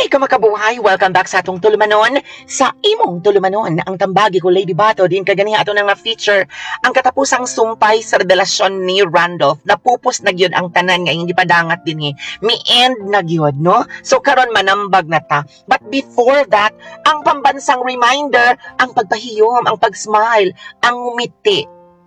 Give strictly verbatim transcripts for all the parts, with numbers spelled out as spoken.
Hi, kamakabuhay! Welcome back sa atong tulumanon. Sa imong tulumanon, ang tambagi ko, Lady Bato, din kaganiha ato nang feature ang katapusang sumpay sa revelasyon ni Randolph. Napupos na gyud ang tanan nga iyong gipadangat dinhi. Mi end na gyud, no? So karon manambag na ta. But before that, ang pambansang reminder, ang pagpahiyom, ang pag-smile, ang ngumiti.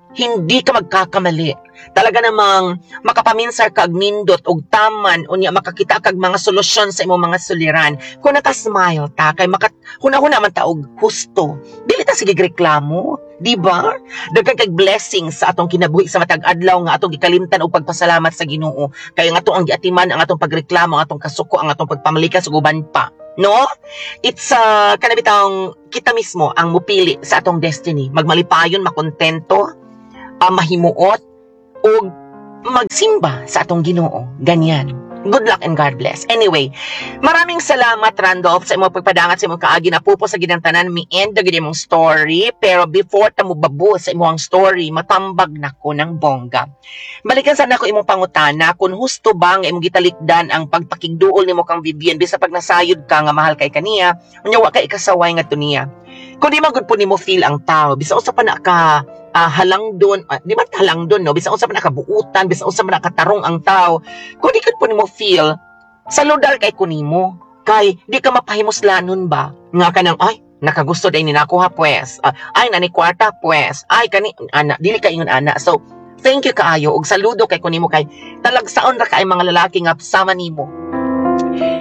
Hindi ka magkakamali. Talaga namang makapaminsar kag nindot og taman, unya makakita kag mga solusyon sa imong mga suliran. Kung naka-smile ta kay maka huna-huna man ta og husto. Dili ta sige reklamo, di ba? Daghan kag blessings sa atong kinabuhi sa matag adlaw nga atong gikalimtan og pagpasalamat sa Ginoo. Kay ang atong ang giatiman ang atong pagreklamo, ang atong kasuko, ang atong pagpamalikas ug uban pa. No? It's uh, kana bitawng kita mismo ang mupili sa atong destiny. Magmalipayon, makontento, uh, mahimuot, ug magsimba sa atong Ginoo. Ganyan. Good luck and God bless. Anyway, maraming salamat, Randolph, sa imong pagpadangat, sa imong kaagi na pupo sa ginang tanan. Mi end na gid imong story. Pero before ta mo babo sa imong story, matambag na ko ng bongga. Balikan sana ko imong pangutana kung husto ba nga imong gitalikdan ang pagpakigduol nimo kang Vivian bisa pag nasayod ka nga mahal kay kaniya, unya wa kay ikasaway ngadto niya. Kung di man gud po nimo feel ang tao, bisa usa pa na ka uh, halang doon, uh, di man halang doon, no? Bisa unsa pa na kabuutan, bisa unsa pa na katarong ang tao. Kung di gud po nimo feel, saludar kay kunimo. Kay di ka mapahimuslanon ba? Nga ka nang, "Ay, nakagusto day ni nako ha, pues. Uh, ay, nani kwarta, pues. Ay, kani, ana," dili ka ingon ana. So, thank you kaayo ug saludo kay kunimo kay talagsaon ra kay mga lalaki nga sama nimo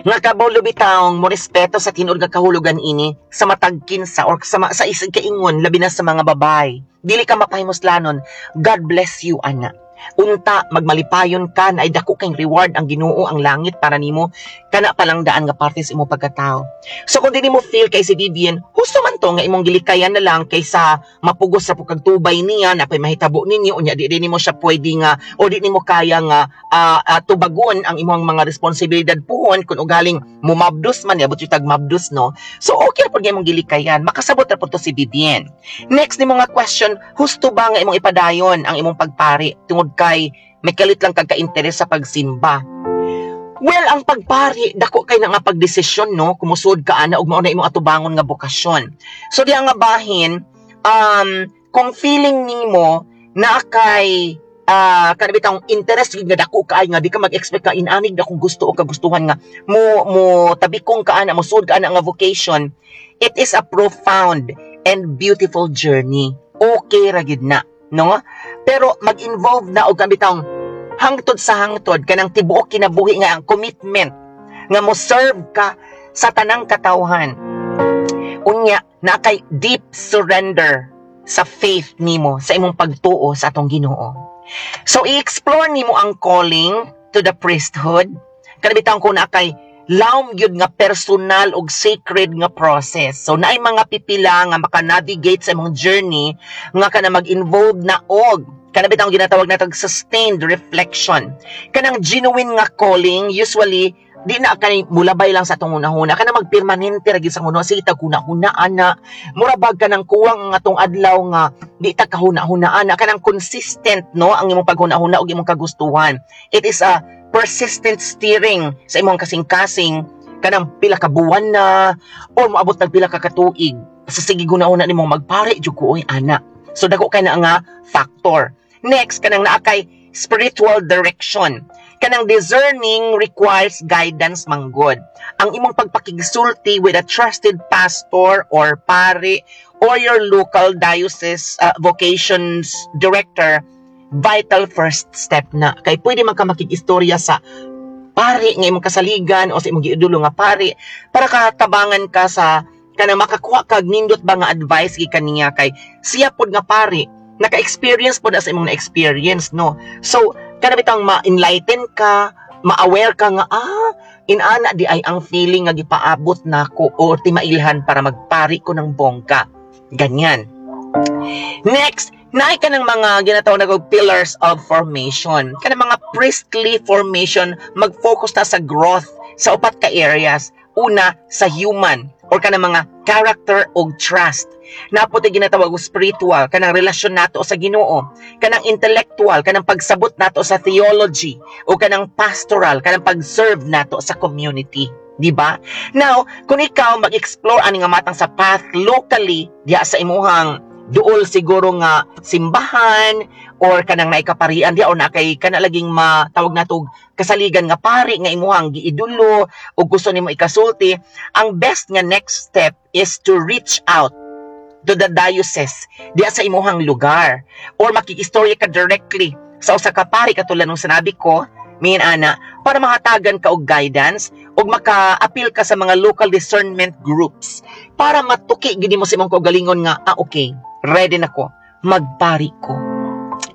nga kabalo bitawng mo respeto sa tinuod nga kahulugan ini sa matag kinsa or sa, sa isig kaingon, labi na sa mga babay. Dili ka mapahimuslanon. God bless you ana. Unta magmalipayon ka na ay dako kay reward ang Ginoo, ang langit para nimo. Kana palang daan nga parte sa imong pagkatao. So kung dili mo feel kay si Vivian, husto man to nga imong gilikayan na lang kaysa mapugos sa pukag tubay niya na pay mahitabo ninyo, unya di di nimo siya pwede nga o di nimo kaya nga uh, uh, tubagon ang imong mga responsibilidad puhon kung ugaling mumabdos man, yabot yung tag mabdos, no? So okay ra pud nga imong gilikayan, makasabot ra pud to si Vivian. Next nimo nga question, husto ba nga imong ipadayon ang imong pagpari tungod kay may kalit lang kag ka-interes sa pagsimba? Well, ang pagpari, dako kay na nga pagdesisyon, no? Kumusod ka ana ug mao na imong atubangon nga bokasyon. So diha nga bahin, um, kung feeling nimo na kay uh, kana bitang interest gid nga dako kaay nga di ka mag-expect ka inanig na kung gusto o kagustuhan nga mo mo tabikong ka ana, mo sud ka ana nga vocation, it is a profound and beautiful journey. Okay ra gid na, no? Pero mag-involve na og bitang hangtod sa hangtod kanang tibuok kinabuhi nga ang commitment nga mo serve ka sa tanang katawhan. Unya na kay deep surrender sa faith nimo, sa imong pagtuo sa atong Ginoo. So i-explore nimo ang calling to the priesthood. Kana bitang ko na kay lawom gyud nga personal ug sacred nga process. So naay mga pipila nga maka-navigate sa imong journey nga kana mag-involve na og kana bitang ginatawag natog sustained reflection. Kanang genuine nga calling, usually di na kay mulabay lang sa atong hunahuna, kana magpermanente ra gyud sa hunahuna. Sige tag hunahuna ana, mura bag kanang kuwang ang atong adlaw nga di ta kahuna-huna ana, kanang consistent, no, ang imong paghuna-huna ug imong kagustuhan. It is a persistent steering sa imong kasing-kasing, kanang pila ka buwan na or moabot nag pila ka katuig sa sige hunahuna nimong magpare jud ko oy ana. So dako kay na nga factor. Next, kanang naa kay spiritual direction. Kanang discerning requires guidance manggod. Ang imong pagpakigsulti with a trusted pastor or pare or your local diocese uh, vocations director, vital first step na. Kay pwede man ka makig-istorya sa pare nga imong kasaligan o sa imong giudulo nga pare para katabangan ka sa kanang makakuha kag nindot ba nga advice gikan niya, kay siya pod nga pare naka-experience pod na sa imong na-experience, no? So kana bitang ma-enlighten ka, ma-aware ka nga, "Ah, inana di ay ang feeling nga gipaabot nako o timailhan para magpari ko ng bongga," ganyan. Next, naay ka ng mga ginatawag na pillars of formation. Kanang mga priestly formation, mag-focus ta sa growth sa upat ka areas. Una, sa human or kanang mga character og trust. Naa poy ginatawag og spiritual, kanang relasyon nato sa Ginoo, kanang intellectual, kanang pagsabot nato sa theology, o kanang pastoral, kanang pag-serve nato sa community. Di ba? Now, kung ikaw mag-explore ani nga matang sa path locally diha sa imuhang duol siguro nga simbahan or kanang naikaparian diha or na kay kana laging matawag natog kasaligan nga pari nga imuhang giidulo o gusto nimo ikasulti, ang best nga next step is to reach out to the diocese diha sa imuhang lugar or makikistorya ka directly sa usa ka pari katulad ng sinabi ko min ana para mahatagan ka og guidance ug maka-appeal ka sa mga local discernment groups para matuki gid mo sa imong kaugalingon nga, "Ah, okay, ready na ko magpari ko,"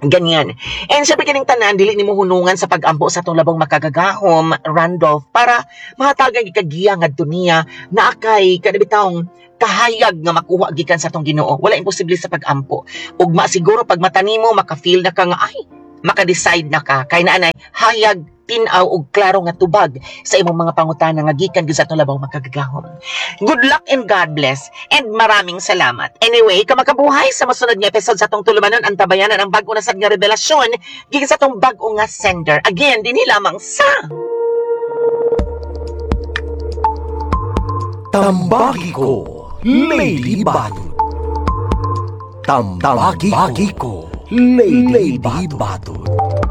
ganyan. And syempre, kining tanan dili nimo hunungan sa pag-ampo sa atong labong makagagahom, Randolph, para mahatagan gid ka giya ngadto niya naa kay kanabitawng kahayag nga makuha gikan sa atong Ginoo. Wala imposible sa pag-ampo. Ug masiguro pag mata nimo maka-feel na ka nga ay maka-decide na ka kay naa nay hayag, tin-aw ug klaro nga tubag sa imong mga pangutana nga gikan gyud sa atong labong makagagahom. Good luck and God bless and maraming salamat. Anyway, kamakabuhay sa masunod nga episode sa atong tulumanon, ang tabayanan ang bag-o na sad nga revelasyon gikan sa atong bag-o nga sender. Again, dinhi lamang sa Tambagi ko, Lady Batud. Tambagi ko, Lady Batud.